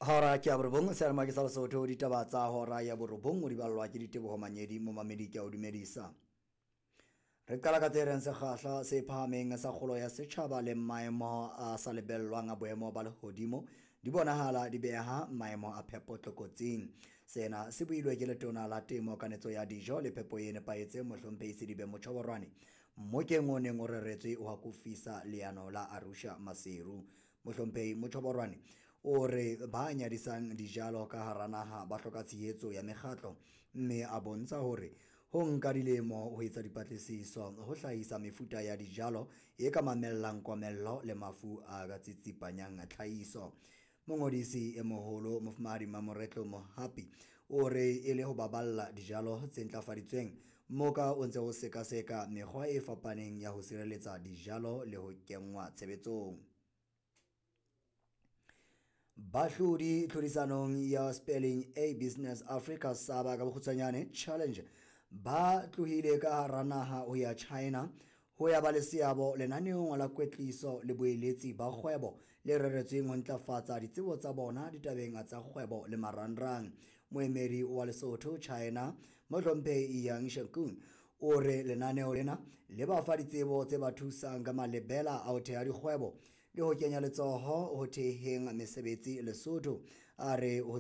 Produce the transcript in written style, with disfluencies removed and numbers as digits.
Hora ke ya borobong seyalemoya ke sa Lesotho ditaba tsa hora ya borobong o di ballwa ke Diteboho Manyedi momamedi ke a o dumedisa. Re qala ka tse reng sekgahla se phahameng sa kgolo ya setjhaba le maemo a sa lebellwang a boemo ba lehodimo di bonahala di beha maemo a phepo tlokotsing. Sena se builwe ke letona la temo, kanetso ya dijo le phepo e nepahetseng Mohlomphehi Sedibe Motjhoborwane mmokeng o neng o reretswe ho akofisa leano la Arusha Maseru. Mohlomphehi Motjhoborwane o re ba nyadisang dijalo ka hara naha ba hloka tshehetso ya mekgatlo, mme a bontsha hore ho nka dilemo ho etsa dipatlisiso ho hlahisa mefuta ya dijalo e ka mamellang komello le mafu a ka tsitsipanyang tlhahiso. Mongodisi e moholo Mofumahadi Mamoretlo Mohapi o re e le ho baballa dijalo tse ntlafaditsweng, mmoka o ntse o sekaseka mekgwa e fapaneng ya ho sireletsa dijalo le ho kenngwa tshebetsong. Bahlodi tlhodisanong ya Spelling A Business Africa Saba ka bokgutshwanyane Challenge ba tlohile ka hara naha ho ya China ho ya ba le seabo lenaneong la kwetliso le boeletsi ba kgwebo le reretsweng ho ntlafatsa ditsebo tsa bona ditabeng tsa kgwebo le marangrang. Moemedi wa Lesotho China Mohlomphehi Yang Shekun o re lenaneo lena le ba fa ditsebo tse ba thusang ka malebela a ho theha dikgwebo le ho kenya letsoho ho theheng mesebetsi Lesotho. A re ho